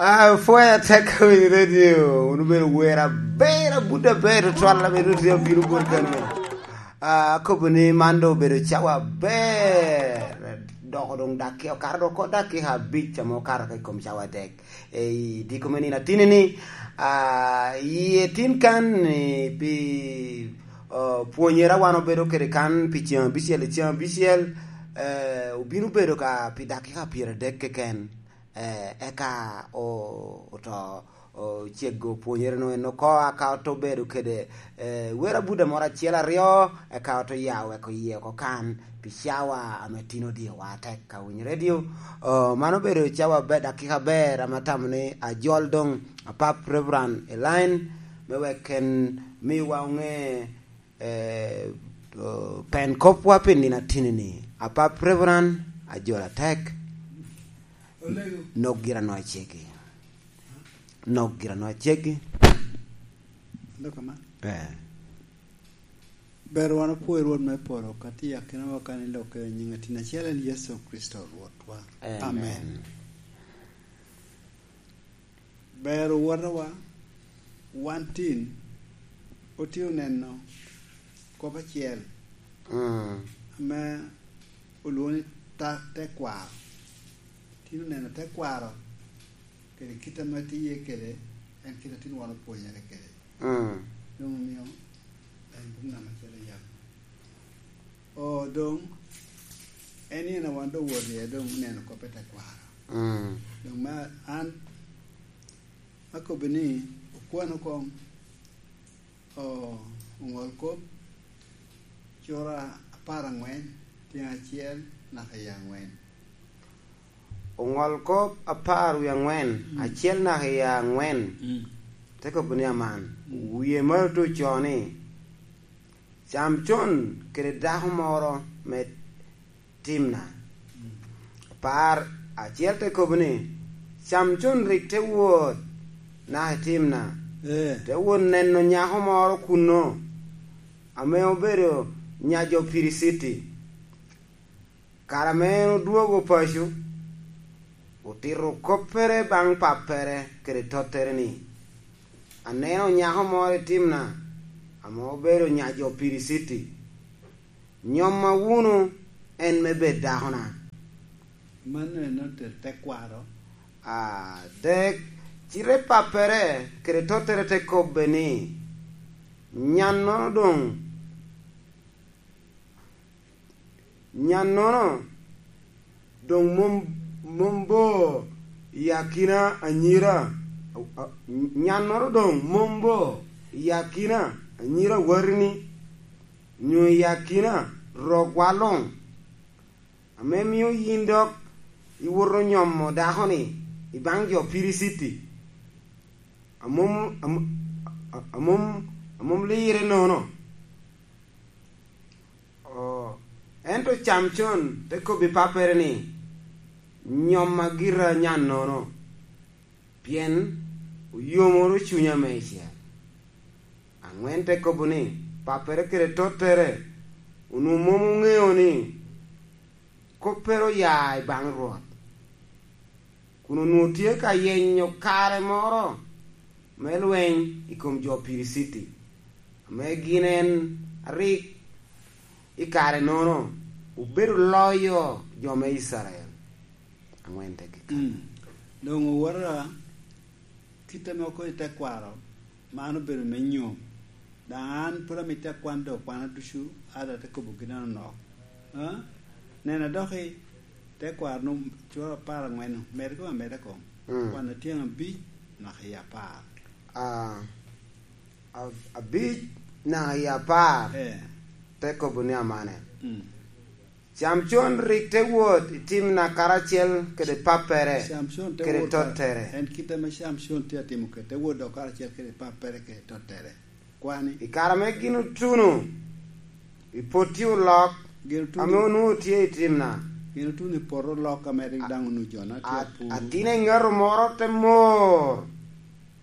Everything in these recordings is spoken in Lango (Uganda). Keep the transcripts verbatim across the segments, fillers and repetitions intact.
Ah, pwoyo atek i radio, wun obedo wer aber, abut aber, tutwal, ame doŋ tye abino bot kano. Ah, akobo ni man doŋ obedo cawa aber, doko doŋ dakika, okato doŋ oko dakika abic ame okato ka i kom cawa adek. Ei diko me nino atini ni, ah, i etin kan ni pi, ah, pwonyere wan obedo kede kan pi ceŋ abicel i ceŋ abicel, eh, obino bedo ka pi dakika pyeradek keken. Eh, eka o-, oto, ocego pwonyere no en oko, aka oto bedo kede, eh, wer abuda moro acel aryo, eka oto ya weko yie oko kan pi cawa ame tin odiowa atek ka winyo radio. Oh, mano obedo cawa aber, dakika aber, ame atamo ni ajol doŋ apap Reverend Elaine, me wek en miwa oŋe, eh, oh, pen kopwa pi nino atini ni. Apap Reverend, ajol atek. Olego. Nok gira no acegi. Nok gira no acegi. Dok aman. Eh. Ber wan opwoyo Rwot me polo, ka tye akinawa kan i lokke i nyiŋ atin acel en Yecu Kricito Rwotwa. Amen. Amen. Ber owotowa, wan tin, otye oneno kop acel, mm, ame olwoŋo ni ta-, tekwaro. Tin oneno tekwaro, kede kit ame tye iye kede, en kit a tin wan opwonyere kede. Mm. Doŋ omio en buk namba acel i yam. O, doŋ, en en a wan doŋ wot iye, doŋ oneno kop i tekwaro. Mm. Doŋ ma an akobbi ni, okwan oko, o, oŋol kop, cura apar aŋwen, tyen acel naka i aŋwen. Oŋol kop apar wie aŋwen, mm, acel naka i aŋwen. Mm. Te kobo ni aman, mm, wie malo te ocoo ni, Camcon kede dako moro me Timna. Mm. Apar acel te kobo ni, Camcon rik te wot naka i Timna, eh, te wot neno nyako moro kunno, ame obedo nya jo Piriciti. Kare ame en odwogo paco, otito koppere baŋ pappere kede tottere ni, "Aneno nyako moro i Timna ame obedo nya jo Piriciti. Nyomma wunu en me bed dakona." Mano en ote-, tekwaro. Adek, cite pappere kede tottere te kobbe ni, "Nyannono doŋ Nyannono doŋ mom, mom bo i akina anyira, a, a, nyannono doŋ mom bo i akina anyira watini, nyo i akina rokwa luŋ, ame mio yin dok iwoto nyomo dako-ni i baŋ jo Piriciti, a mom, a, a, a mom, a mom lire nono." Oh, ento Camcon te kobbi pappere ni, "Nyomma gira nyannono, pien oyomoro cunya meicel." Aŋwen te kobo ni, "Pappere kede tottere onwoŋo mom oŋeo ni koppere oya i baŋ Rwot, kun onwoŋo tye ka yenyo kare moro me lweny i kom jo Piriciti, ame gin en arik i kare-nono obedo loyo jo me Icrael." Aŋwen te gika. Mm. Doŋ owota, kit ame okobo i tekwaro, man obedo me nyom. Daŋ an pwod amito akwan doŋ kwana ducu, ada te kobo gin anonok. Ah? Nena doki, tekwaro no, cura apar aŋwen-nu, med kong ameda kong. Mm. Kwan atyeŋ abic, naka i apar. Ah, ab-, abic naka i apar. Eh. Te kobo ni amane. Mm. Camcon rik te wot i Timna karacel kede pappere, Camcon te kede wot ka-, tottere. En kit ame Camcon tye atimo kede, te wot dok karacel kede pappere kede tottere. Kwani? I kare ame gin otuno, i potti olok, gin otuno, ame onwoŋo tye i Timna, Gin otuno i poto lok ame rik daŋ onuco na tye apur. Atin eŋato moro te mor.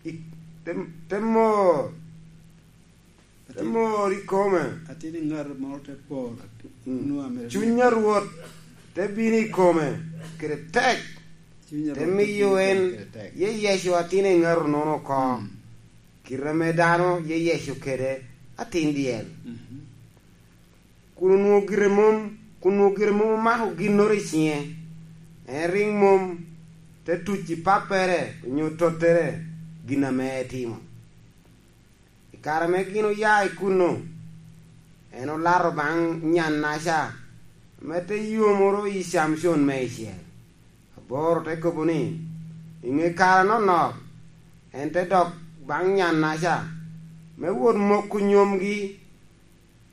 I-, te, te mor. Te mor i kome. Atin eŋato moro te por. Mm. Cuny a Rwot te bino i kome kede tek. Te miyo en, ye Yecu atin eŋato nono oko. Mm. Kite ame dano ye Yecu kede atin dyel. Mhm. Kun onwoŋo gire mom, kun onwoŋo gire mom omako ginnoro i ciŋe. En rik mom te tuc i pappere onyo tottere gin ame etimo. I kare ame gin oya i kunno, en olato baŋ nyannaca ame te yomoro i Camcon meicel. Aboro te kobo ni, i ŋe kare anonok, en te dok baŋ nyannaca me wot moko nyomgi.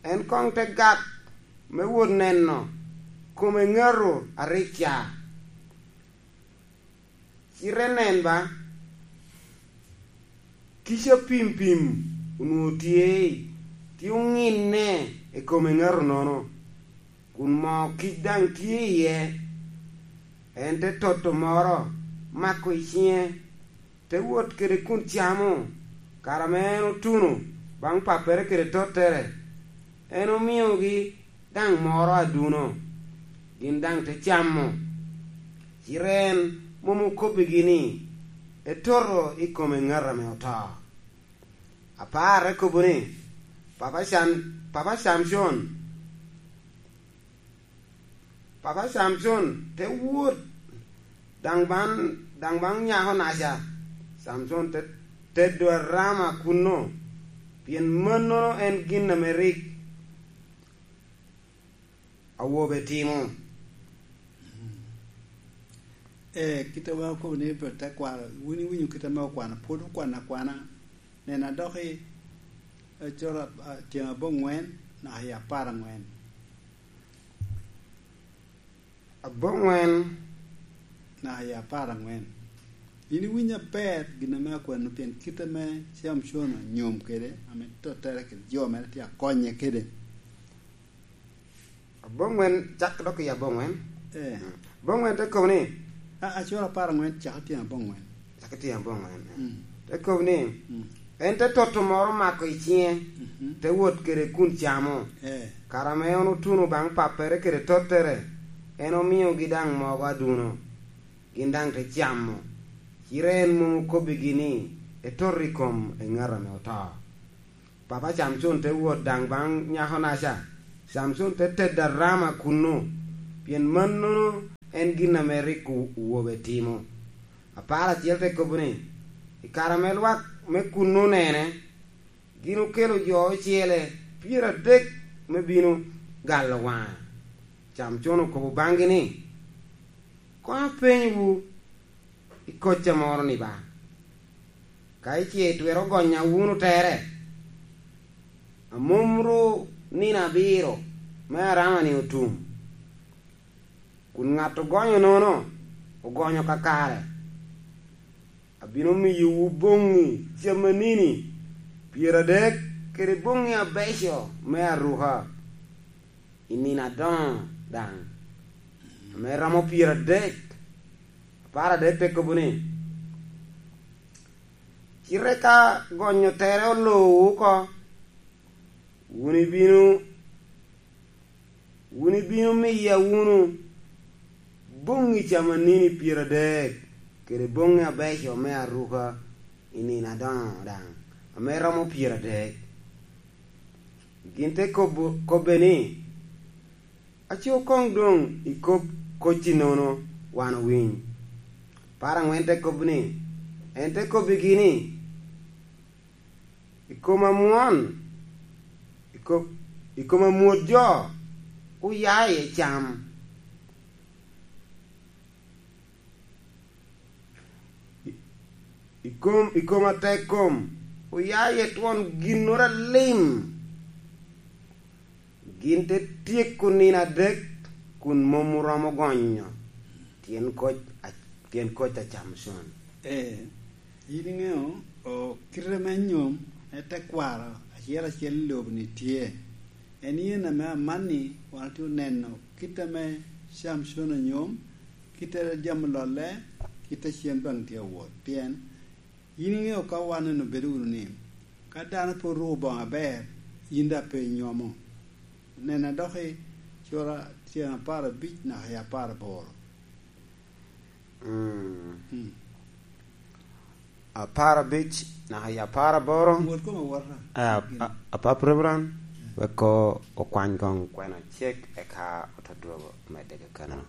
En koŋ te gak me wot neno kome ŋato a rik ca. Cite nen ba, kica pimpim onwoŋo tye, tye oŋinne i kome ŋato nono, kun moo kic daŋ tye iye. En te toto moro, mako i ciŋe, te wot kede kun camo. Kare ame en otuno baŋ pappere kede tottere, en omiogi daŋ moro aduno, gin daŋ te camo. Cite en mom okobbigi ni, "Etoto i kome ŋat ame oto." Apar te kobo ni, "Papa Cam-, Papa Camcon, Papa Camcon te wot daŋ baŋ, daŋ baŋ nyako naca." Camcon te tedo arama kunno, pien mannono en gin ame rik awobe timo. Ee, kit ame okobo ni, tekwaro, wun iwinyo kit ame okwano, pwod okwano akwana. Nen, adok i, e, coro ap-, a, tyen aboŋwen naka i apar aŋwen. Aboŋwen naka i apar aŋwen. Yin iwinyo aber gin ame akwano, pien kit ame Camcon onyom kede, ame tottere kede jo mere tye akonye kede. Aboŋwen, cak dok i aboŋwen. Eh. Mm. Aboŋwen te kobo ni, a, acoro apar aŋwen, cak i tyen aboŋwen. Cak i tyen aboŋwen. Mm. Te kobo ni, mm, en te toto moro mako i ciŋe, mhm, te wot kede kun camo. Eh. Kare ame en otuno baŋ pappere kede tottere, en omiogi daŋ mogo aduno, gin daŋ te camo. Cite en mom okobbigi ni, "Etoto i kom eŋat ame oto." Papa Camcon te wot daŋ baŋ nyakonaca. Camcon te tedo arama kunnu, pien mannono en gin ame rik owobe timo. Apar acel te kobo ni, i kare ame lwak me kunnu onene, gin okelo jo ocele pyeradek me bino galo waŋe. Camcon okobo baŋgi ni, "Koŋ apenywu i kocca moro ni ba? Ka ice twero gonya wunu tere, a mom ru nino abiro me arama-ni otum, kun ŋat ogonyo nono ogonyo kakare, abino miyowu boŋŋi camanini pyeradek kede boŋŋi abeco me aruka i nino adoŋo daŋ, ame romo pyeradek." Apar adek te kobo ni, "Cite ka gonyo tere olowu oko, wun ibino, wun ibino miya wunu boŋŋi camanini pyeradek kede boŋŋi abeco me aruka i nino adoŋo daŋ, ame romo pyeradek." Gin te kobo, kobbe ni, "Aco koŋ doŋ ikob kocci nono, wan owiny." Apar aŋwen te kobo ni, en te kobbigi ni, "I kom amwon, i kom, i kom amwot jo, oya iye cam." I, i kom, i kom atek kom, oya iye twon ginnoro alim. Gin te tyeko nino adek kun mom oromo gonyo tyen koc a, tyen koc a Camcon. Ee, yin iŋeo, o, kite me nyom me tekwaro acel acel i lobo-ni tye. En yen ame amanni wan otye oneno kit ame Cam con anyom, kite a jami ololle, kite a cen baŋ tye awot. Pien yin iŋeo ka wan en obedo wunu ni, ka dano pe oruko boŋo aber, yin daŋ pe inyomo. Nena dok i cura tyen apar abic naka i apar aboro. Mm. Mm. Apar abic naka i apar aboro. Wot kome wota. Eh, ap-, ap-, apap Reverend, wek o-, okwany koŋ kwena cek, eka ote dwogo medde kakano.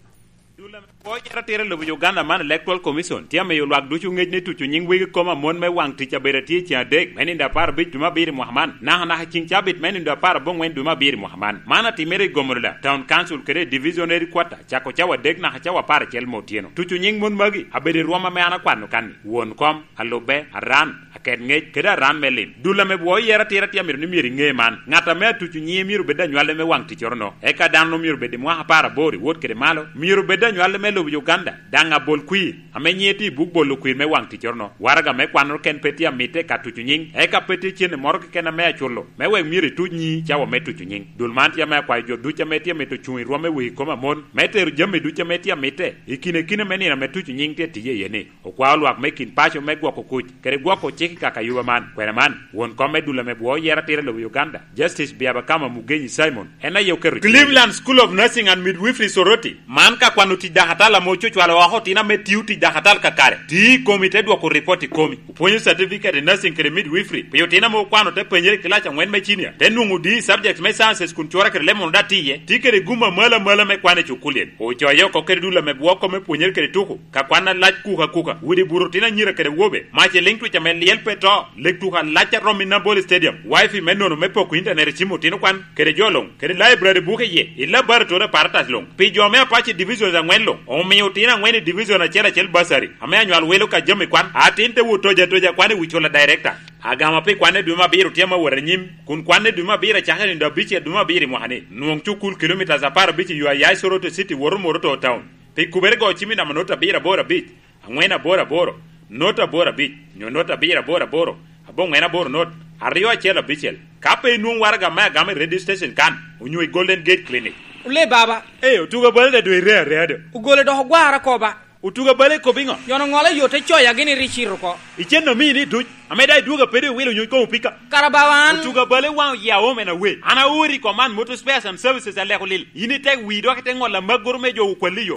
Dul ame pwoo yero atira i lobo Uganda man, Electoral Commission, tye amiyo lwak ducu ŋec ni tuco nyiŋ wegi koma mon me waŋ tic abedo atye i ceŋ adek, me nino apar abic dwe me abiro i mwaka man, naka naka i ceŋ cabit me nino apar aboŋwen dwe me abiro i mwaka man. Man atimere i Gomolola Town Council kede i Division Headquarter, cako cawa adek naka cawa apar acel me otyeno. Tuco nyiŋ mon magi abedo i rwom ame an akwano kan-ni: won kom, alubbe, aran, aket ŋec, kede aran me lim. Dul ame bwoo yero atira tye amito ni myero iŋe man: ŋat ame atuco nyiŋe myero bed anywale me waŋ ticcoro-no, eka dano myero bed i mwaka apar aboro i wot kede malo, myero bed anywale me lobo Uganda, daŋ abol kwir, ame nyiŋe tye i buk bolo kwir me waŋ ticcoro-no. Waraga me kwanoro ken pe tye amitte ka tuco nyiŋ, eka pe tye cente moro keken ame aculo, me wek myero ituc nyiŋi cawa me tuco nyiŋ. Dul man tye ame akwayo jo ducu ame tye amito cuŋ i rwom me wegi koma mon, me tero jami ducu ame tye amitte i kine kine me nino ame tuco nyiŋ tye tiye iye-ni. Okwao lwak me kin paco me gwoko kuc kede gwoko cik i kaka yuba man. Kwena man, won kom me dul ame bwoo yero atira i lobo Uganda, Justice Byabakama Mugenyi Simon, en aye oketo cwiny. Cleveland School of Nursing and Midwifery Soroti, man ka kwano tic dakatal ame ococwalo oko otino ame tio tic dakatal kakare, tio i komi te dwoko ripot i komi. Opwonyo certificate i nursing kede midwifery pi otino ame okwano te penyere i kilac aŋwen me cinia, te nwoŋo D i subject me sciences kun cura kede lemon daŋ tye iye, tye kede gum amalo amalo me kwan i cukulli. Ocoye oko kede dul ame bwoo kome pwonyere kede tuko, ka kwan alac kuka kuka, widi buto otino anyira kede wobe, mac i liŋ twic ame lyel pe to, lek tuko alac a romo i Nambole Stadium, wifi me nono me poko intanet i cim otino kwan, kede jo luŋ, kede laibrari buke iye, i laboratory apparatus luŋ, pi jo me Apac i divisions aŋwen luŋ, omio otino aŋwen i division acel acel bursary, ame anywal welo ka jami kwan, atin te wot toja toja kwan i wi cula director. Agama pi kwanne dwe me abiro tye ame awot anyim, kun kwanne dwe me abiro acakere nino abicel dwe me abiro i mwaka-ni. Nwoŋ cukul kilomitas apar abic i yo a ya i Soroti City woto Moroto Town. Pi kubere go cim i namba not abiro aboro abic, aŋwen aboro aboro, not aboro abic, nyo not abiro aboro aboro, aboŋwen aboro not, aryo acel abicel. Ka pe inwoŋ waraga me agama i radio station kan, onyo i Golden Gate Clinic. Ole baba. Ee, otuga bal da dwe ire area do. Ogole dok ogwara koba. Otuga bal ekobo iŋo? Yono ŋolo yo te coya gini ri cito oko. Icen omini duc, ame daŋ idwogo apedo iwilo nyuc koŋ opika. Kara bawa an. Otuga bal iwaŋo yia omen awe. An aori i Command Motor Spares and Services aleko lil. In itek wii dok ite ŋolo amaggoro me jo okwalli yo.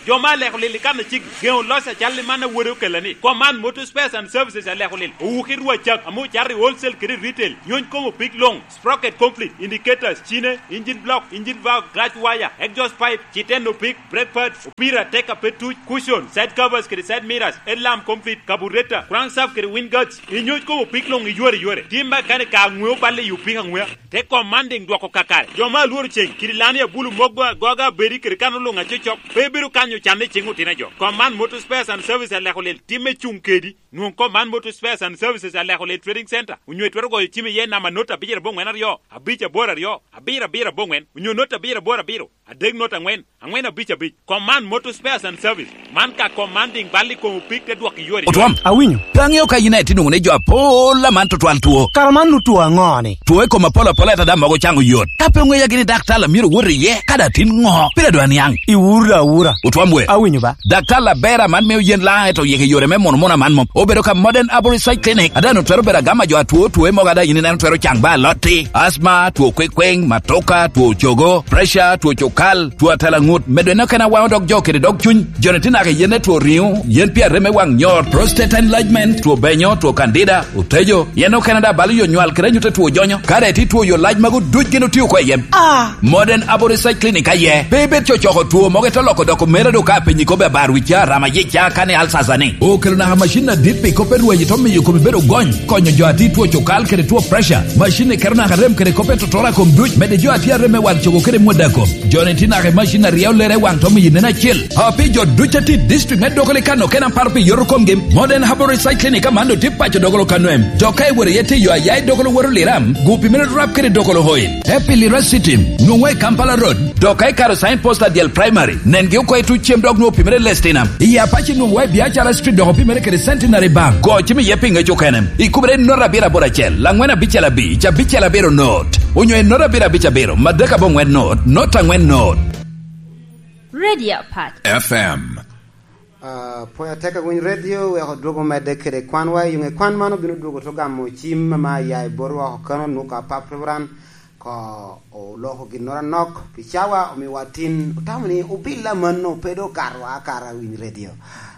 Jo me aleko lil i kan aciki, geŋo loc acal i man a wode okella ni, Command Motor Spares and Services aleko lil. Owuki rwa cak, ame ocato i wholesale kede i retail. Nyuc koŋ opik luŋ. Sprocket conflict, indicators, cine, engine block, engine valve, clutch wire, exhaust pipe, citeno pik, brake pads, opira, tek a pe tuc, cushion, side covers kede side mirrors, headlamp conflict, carburetor, crankshaft kede wind guards. Inyuc koŋ opik luŋ iyore iyore. Tim mekanik ka aŋwe oballe i opik aŋwea. Te commanding dwoko kakare. Jo me alworo ceng, kidi lani abulu mogo agoga abedi kede kano luŋ acocok, pe bedo kanyo canne i cing otino jo. Command Motor Spares and Service aleko lel timme cuŋ kedi. Nwoŋ kom man Motor Spares and Services aleko lel Trading Center, onyo itwero goyo cim iye namba not abiro aboŋwen aryo, abic aboro aryo, abiro abiro aboŋwen, onyo not abiro aboro abiro, adek not aŋwen, aŋwen abic abic. Kom man Motor Spares and Service, man ka kom man diŋ bal i kom opik te dwok i yore. Otwam, awinyo. Pe aŋeo ka yin aye tye nwoŋo ni jo apol aman tutwal two. Kara man nu two aŋo-ni? Two i kom apol apol ata daŋ mogo caŋo yot. Ka pe oŋeya gini daktar a myero wot iye, ka daŋ tin ŋo? Pire dwa niaŋ. Iwuro da awura. Otwam we. Awinyo ba. Daktar Labera man mio yen laŋ eto yeke yore me mono mono aman mom. Obedo ka Modern Arborist Side Clinic. Ada no twero bedo agama jo atwo two mogo ada yin ineno twero caŋ ba alotti. Asthma, two kwekweng, matoka, two cogo, pressure, two cokal, two atela ŋut. Medo eno kena waŋo dog jo kede dog cuny. Joni tye naka yen e two riŋo, yen pi arem me waŋ nyor, prostate enlargement, two benyo, two candida, otejo. Yen okene da balo yo nywal kede anyut e two jonyo. Kare ti two yo lac mago duc gin otio ko iyem. Ah. Modern Aboriginal Clinic aye. Pe ibed cocoko two mogo ito loko doko mera do ka piny ikobe abar wica, rama yica, kani alsasa ni. Okelo naka macin adit pi kope rwayi to miyo komi bedo gony. Konyo jo ati two cokal kede two pressure. Macin ni keto naka rem kede kope totora kom duc. Mede jo ati arem me wal cogo kede mwada kom. Joni ti naka macin aryo lere waŋ to miyo nen acel. Api jo duc ati district me Dokoli kano ken aparo pi yoto komgi. Modern Herbal Research Clinic aman do ti paco Dokolo kano em. Dok ka iworo iye ti yo ayai Dokolo woro liram. Gupi mere rap kede Dokolo oil. Epilira City, nwoŋo i Kampala Road, dok ka ikaro sign post adyel primary, nengi oko i tuc cem dok nwoŋo opimere Lestina. I Apache nwoŋo i Biacara Street dok opimere kede Centenary Bank. Go cim iye pi ŋec okene. Ikubere i not abiro aboro acel, angwen abicel abic, abicel abiro not. Onyo i not abiro abic abiro, madek aboŋwen not, not angwen not. Radio Apac. F M. Ah, pwony atek awiny radio, wek odwogo medde kede kwanwa. I ŋe kwan man obino dwogo to gamo cim ama ya i bot woko kano, Nuka Apap Reverend, ko oloko ginnoro anok pi cawa, omiwa tin, otamo ni obilla mano pe do karwa akara winy radio.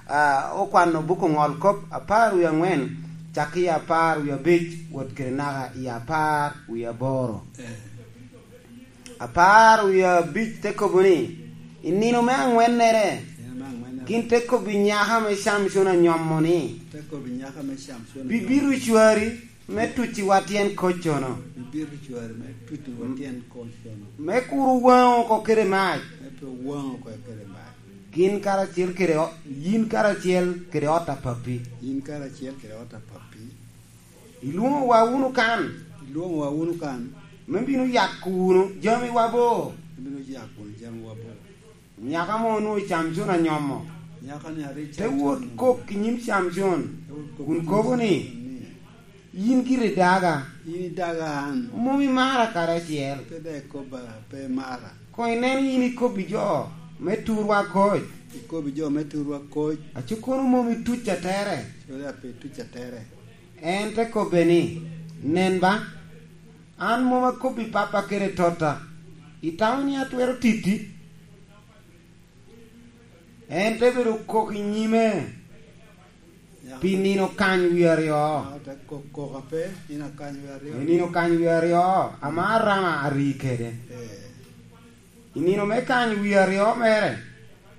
Ah, okwano buko ŋol kop apar wie aŋwen, cak i apar wie abic, wot kede naka i apar wie aboro. Apar wie abic te kobo ni, i nino me aŋwennere, Nino me aŋwennere. Gin te kobbi nyaka me Camcon anyomo ni, Te kobbi nyaka me Camcon anyomo. Bibito cwari me tuciwa tyen koccono. Bibito cwari me tuciwa tyen koccono. Me kur owaŋ oko kede mac. Me pe owaŋ oko kede mac. Gin karacel kede o-, yin karacel kede ot a pappi. Yin karacel kede ot a pappi. Ilwoŋowa wunu kan. Ilwoŋowa wunu kan. Me bino yako wunu jamiwa bo. Me bino yako wunu jamiwa bo. Nyaka mo onwoŋo Camcon anyomo. Nyaka ni ari Te Camcon wot anyomo. Kok i nyim Camcon, Te wot kok kun i nyim kobo ni, Camcon ni, "Yin giri daga. Yin idaga an. Mom imara karacel. Pe dek ikobba pe imara. Koŋ inen yin ikobbi jo me turwa koc. Ikobbi jo me turwa koc. Aco kono mom ituc atere." Cwale a pe ituc atere. En te kobbe ni, "Nen ba, an mom akobbi pappa kede totta. Itamo ni atwero titti?" En te bedo kok i nyime pi nino kany wie aryo. Aa, te kok, kok ape, nino kany wie aryo. I nino kany wie aryo, ama Arama ari kede. Eh. I nino me kany wie aryo mere,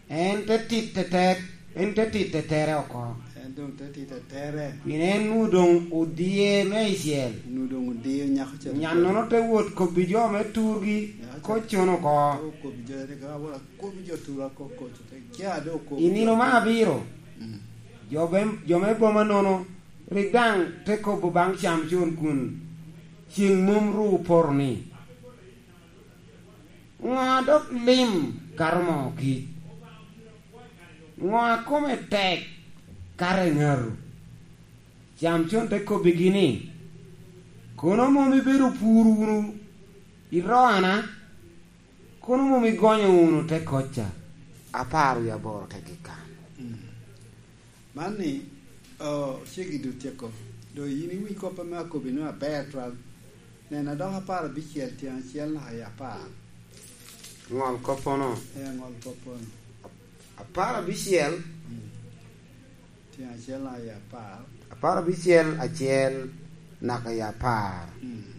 en te tit tetek, en te tit tetere oko. En doŋ te tit tetere. Pien en nwoŋo doŋ odie meicel. Nwoŋo doŋ odie nyako ca. Nyannono te wot kobbi jo me turgi, nyako ca, koccono oko. Te wot kobbi jo, te ka wot akobbi jo turwa koko, te kia do kobbi. I nino me abiro, mm, jo be-, jo me boma nono rik daŋ te kobo baŋ Camcon kun ceŋ mom ru opoto ni, "Ŋo a dok lim kato moo kic? Ŋo a kome tek kato eŋato?" Camcon te kobbigi ni, "Kono mom ibedo pur wunu i roana? Kono mom igonyo wunu te kocca?" Apar wie aboro te gik kan. Mm. Man ni, o, ceggi doŋ tyeko. Doŋ yin iwiny kop ame akobbi nwoŋo aber twal. Nena, dok apar abicel tyen acel naka i apar. Ŋol koppono. Ee, ŋol koppono. Apar abicel. Mm. Tyen acel naka i apar. Apar abicel acel naka i apar. Mm.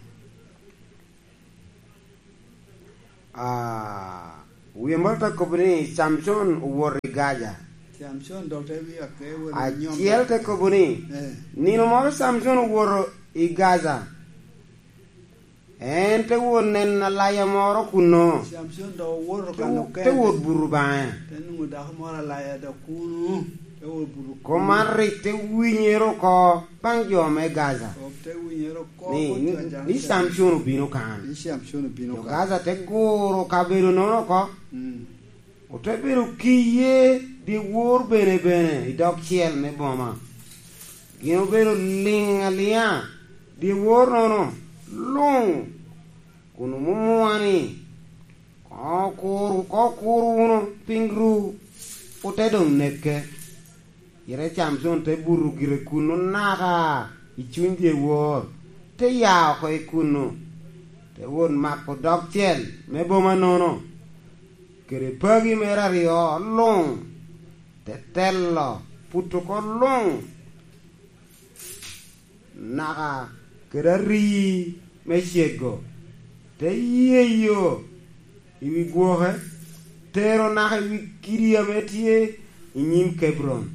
Ah, wie moro te kobo ni Camcon owoto i Gaza. Camcon dok te wia ke wot i nyom. Acel te kobo ni, eh, nino moro Camcon owoto i Gaza. En te wot neno alaya moro kunno. Camcon dok owoto ka mukene. Te wo-, te wot buto baŋe. Te nwoŋo dako moro alaya dok kunu. Te wot buto kunu. Kop man rik te winyere oko baŋ jo me Gaza. Kop te winyere oko, ni, ni, ni Camcon obino kan. Ni Camcon obino kan. Jo Gaza te guro kabedo nono oko. Mm. Ote bedo kiye dyewor bene bene i dog cel me boma. Gin obedo liŋ aliŋa dyewor nono luŋ, kun omumua ni, "Koŋ okur, koŋ okur wunu, piny ru ote doŋ neke." Cite Camcon te buto gire kunnu naka i cuny dyewor, te ya oko i kunnu, te wot mako dog cel me boma nono, kede pagi mere aryo luŋ, te telo puto oko luŋ naka kede arii me cego, te yeyo i wi gwoke, tero naka i wi kidi ame tye i nyim Kebron.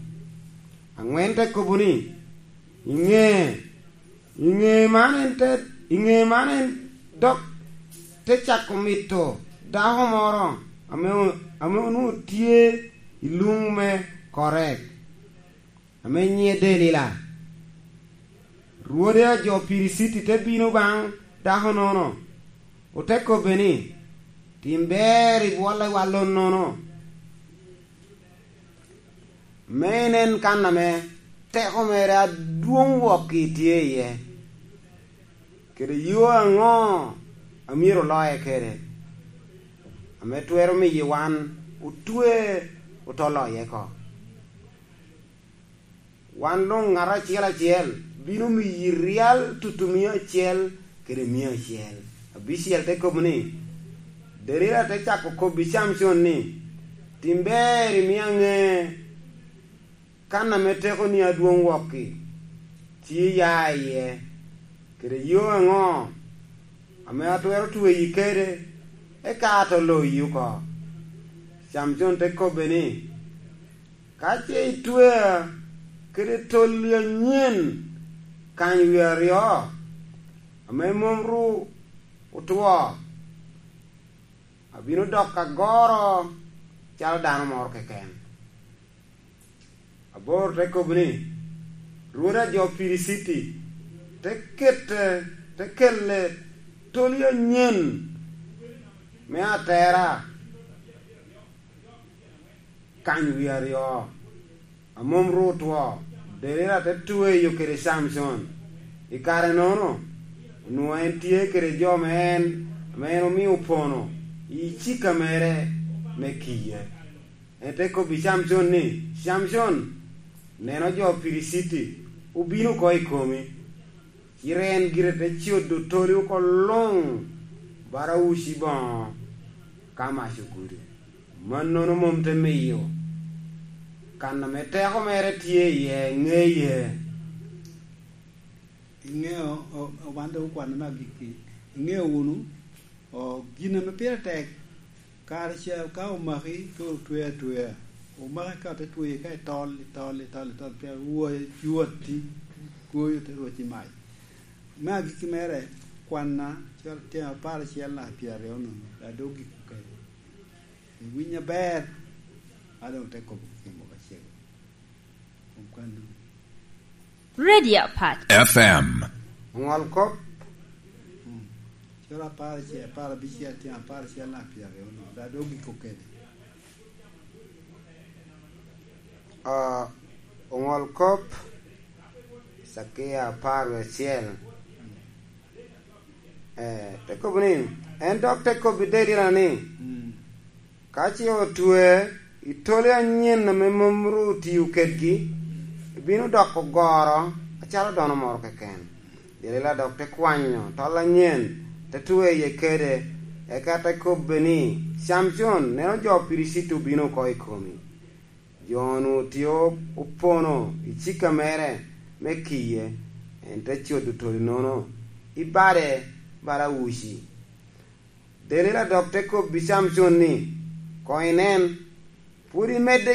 Aŋwen te kobo ni, "I ŋe, i ŋe man en te, i ŋe man en dok te cako mito dako moro ame o-, ame onwoŋo tye i luŋ me Korek, ame nyiŋe Delila. Rwode a jo Piliciti te bino baŋ dako-nono, ote kobbe ni, 'Tim ber i bwollewa lonnono, me inen kan ame teko mere adwoŋ wok-ki tye iye, kede yo aŋo a myero oloye kede, ame twero miyo wan otwe, oto loye oko. Wan luŋ ŋat acel acel bino miyi ryal tutumia acel kede mia acel." Abicel te kobo ni, Delila te cako kobbi Camcon ni, "Tim ber, imio aŋe kan ame tekoni adwoŋ wok-ki, ci iya iye, kede yo aŋo ame atwero tweyi kede, eka ato loyi oko?" Camcon te kobbe ni, "Ka ce itwea kede tolli anyen kany wie aryo, ame mom ru otwo, abino dok agoro calo dano moro keken." Abor te kobo ni, "Rwod a jo Piliciti te kete, te kelle toli anyen me atera kany wie aryo, a mom ru otwo." Delila te tweyo kede Camcon. I kare-nono, onwoŋo en tye kede jo me en, ame en omio opono i cika mere me kiye. En te kobbi Camcon ni, "Camcon, neno jo Piliciti obino oko i komi." Cite en gire te codo toli oko luŋ, bara uci boŋo ka mac ogudo. Mannono mom te miyo kan ame teko mere tye iye ŋeye. Iŋeo, o-, o-, wan dok okwanne me agikki. Iŋeo wunu, o, gin ame pire tek, kare ca ka omaki, ka otwe atwea, omaki ka te tweyi ka itol, itol, itol, itol, pien woyo cwatti, goyo te rwec i mac. Me agikki mere, kwanna, cwalo tyen apar acel naka pyeraryo nono, a dok giko kede. Iwiny aber, a doŋ te kobo gin moko acel. Kom kwanno. Radio Apac. F M. Oŋol kop. Mm. Coro apar acel, apar abicel, tyen apar acel naka pyeraryo no, da dok giko kede. Ah, oŋol kop, cakia apar wie acel. Eh, te kobo ni, en dok te kobbi Delila ni, Mm. "Ka ce otwe i toli anyen ame mom ru otio kedgi, ibino doko goro acalo dano moro keken." Delila dok te kwanyo tol anyen, te tweye kede, eka te kobbe ni, "Camcon, neno jo Piliciti obino oko i komi." Jo-nu tye opono i cika mere me kiye, en te codo toli-nono i bade bala uci. Delila dok te kobbi Camcon ni, "Koŋ inen, pwod imedde